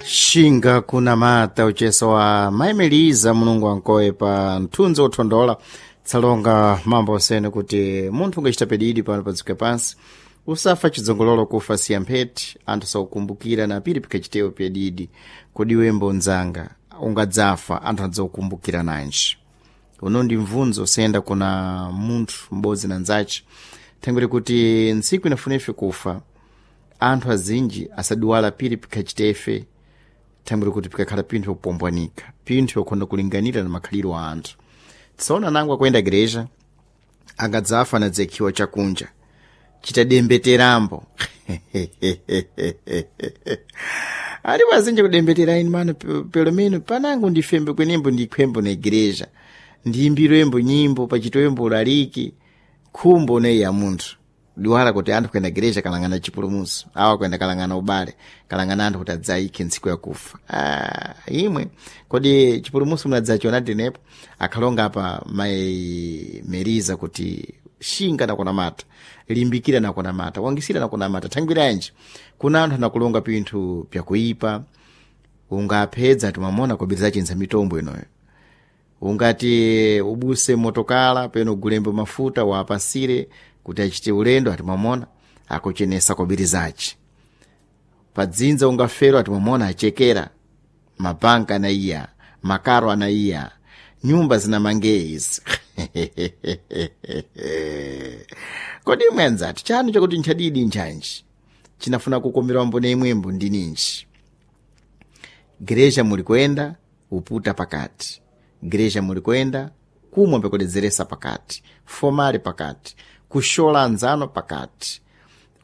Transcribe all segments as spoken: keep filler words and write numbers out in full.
Shinga kunamata ucheso wa maimeliza Mulungu ankoye pa mthunzi wothondola tsalonga mambo osene kuti munthu ungachita pedidi pano padziko pansi usafa chidzongololo kufa siya mpheti anthu sakukumbukira na pili pikachitewo pedidi. Kodi wembo nzanga ungadzafa anthu adzakukumbukira nanji? Uno ndi mvunzo usayenda kuna munthu m'bodzi na nzace thangwere kuti ntsiku inafuna ife kufa anthu azinji asaduwala pili pikhachitefe thangwere kuti pikakhala pinthu yopombwanika, pinthu yokhonda kulinganira na makhaliro a anthu. Tsaona nangu akuyenda gereja angadzafa anadzekhiwa chakunja chitadembeterambo alipo azinji kudembetera ine mano pelo meno panangu ndifembe kwenembo ndikhwembo na igreja ndiyimbirwembo nyimbo pachitoyembo ulaliki khumbo neyi ya munthu diwala kuti anthu kuyenda gereja kalangana chipulumutso awa kuyenda kalangana ubale kalangana anthu kuti adzayikhe ntsiku yakufa. Ah, imwe kodi chipulumutso munadzachiona tenepo akhalonga apa maimeriza kuti shinga nakunamata, limbikira nakunamata, wangisira nakunamata. Thangwiranji kuna anthu anakulonga pinthu pyakuipa ungaphedza timamona kobiriza chintsa mitombo inoyo ungati ubuse motokala peno ugulembo mafuta wapasire kuti achite ulendo atimamona akuchenesa kobirizaci padzinza ungafero atimamona achekera mabanka anaiya makaro anaiya nyumba zinamange izi. Kodi imwe anzati chanu chakuti nchadidi nchanji chinafuna kukomerwa mbone imwembo ndininji gereja muli kuyenda uputa pakati gereja muli kuyenda kumwa pekuledzeresa pakati fomali pakati kushola anzano pakati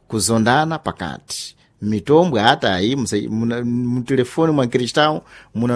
kuzondana pakati mitombwe atayi mutelefoni mwa kristau muna.